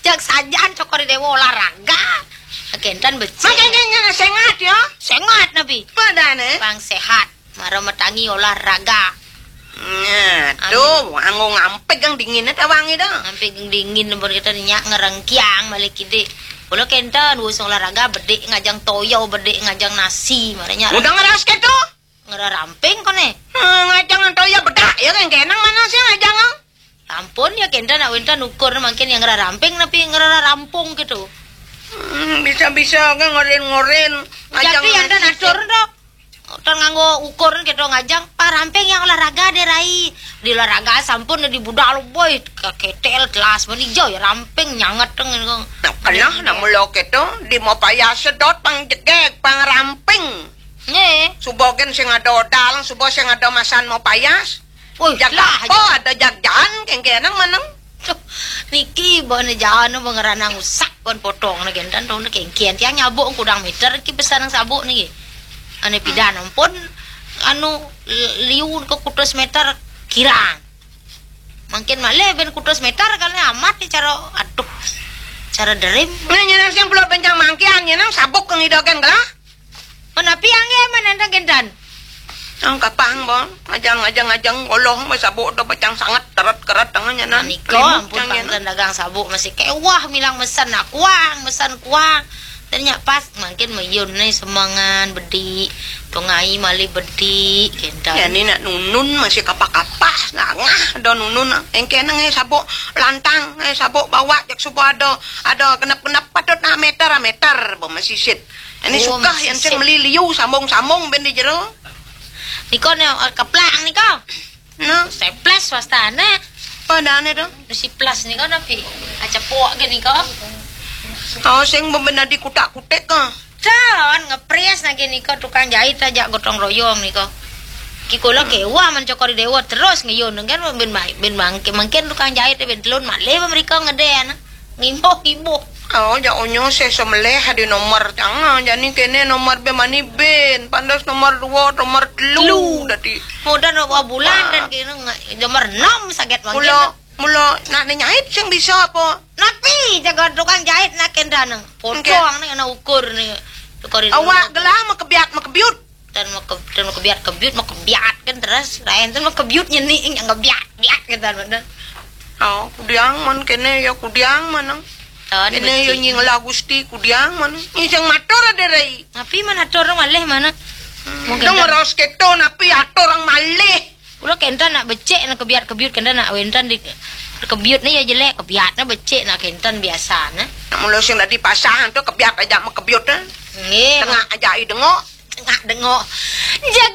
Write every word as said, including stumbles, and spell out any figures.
Jak sajan Cokor I Déwa olahraga. Kénten becik. Mangké sengat ya. Sengat napi? Padahal. Pang sehat. Mara matangi olahraga. Nah, tuh, anggo ngampig kang dingin ta wangi dah. Ngampig kang dingin pun kita nyak ngerengkiang malih kidik. Kula kénten wus olahraga bedik ngajeng toya, bedik ngajeng nasi, maranya. Udah ngeras kéto? Ngeraramping koné. Eh, ngajeng toya bedak ya kan kenang mana sih ngajeng? Ampun ya kénten nak wénten ukur mangkin yang ngeraramping napi ngerarampung gitu. Hmm, bisa-bisa kan ngoren-ngoren. Tapi yang dan atur to. Ton nganggo ukur gitu ngajeng. Pak ramping yang olahraga deh rai. Di olahraga sampun di budal boy keketel telas menijo ya ramping nyanget teng. Nah, kenah nak mula kéto di mau payah sedot pang jegeg pang ramping. Nggih. Suba gén sing ada odal, suba sing ada masan mau payas. Wih, jag lah, apa ada jag jahan kéngkénang maneng. Duh, niki bana jahan apa ngeranang usak pun potong niki dan dong kéngkén tiang nyabuk kudang meter ki besar nang sabuk niki. Ane pidan ampun anu liu ke kutus meter kirang. Mangkin malih ben kutus meter kali amat ni cara aduh. Cara derim. Nah, nyenang sing pulau bencang mangkian nyenang sabuk kang idogan gelah. Menapi angge manentang kénten? Ang kapang, Bang. Ajang, ajang, ajang, oloh mah sabuk dah bacang sangat teret-keret tangannya nan. Nika ampun panten dagang sabuk masih kewah milang mesen nak kuang, mesen kuang. Tanya pas mangkin mayun nih semangan bedi, tungai malih bedi, kénten. Ya ni nak nunun masih kapak-kapak, nak ngah dah nunun. Engke nang eh sabuk lantang, eh sabuk bawa jak subuh ada, ada genep-genep patut nak meter, meter, bo masih sit. Ini oh, suka yang sing meli liu sambung-sambung ben di jero. Niko ne eh, keplak niko. No. Seples wastane. Padane to. Si plus niko napi? Acepok ge niko. Oh, sing bebenadi kutak-kutik ka. Calon ngepres lagi niko tukang jahit aja gotong royong niko. Ki kula kewah mencokori dewa terus ngeyun kan ben baik ben bangke mungkin tukang jahit ben telun malih mereka ngeden. Ngimbuh-ngimbuh. Oh, ja onyo seh semeleh di nomor tanga, jani kene nomor be mani ben, pandas nomor dua, nomor telu. Telu. Dadi. Mudah nomor bulan dan kene nomor enam saget mangkin. Mula, mula nak nyait sing bisa apa? Napi jaga tukang jahit nak kendana. Potong ni kena ukur ni. Tukar ini. Awak gelah makebiat makebiut. Dan mau ke dan mau kebiat kebiut mau kebiat kan terus lain tuh mau kebiut nyening yang kebiat biat gitu bener. Oh, kudiang man kene ya kudiang manang. Kene ya nying lah gusti kudiang man. Ini yang matur ada rai. Tapi mana atur malih mana? Hmm. Mungkin dong meros keto napi atur orang malih. Ulah kenten nak becek nak kebiat kebiut kenten nak wenten di kebiut ni ya jelek kebiat nak becek nak kenten biasa nah. Nak mula sing tadi pasang tu kebiat aja mau kebiut nah. Nggih. Tengah aja i dengok. Tengah dengok. Jaga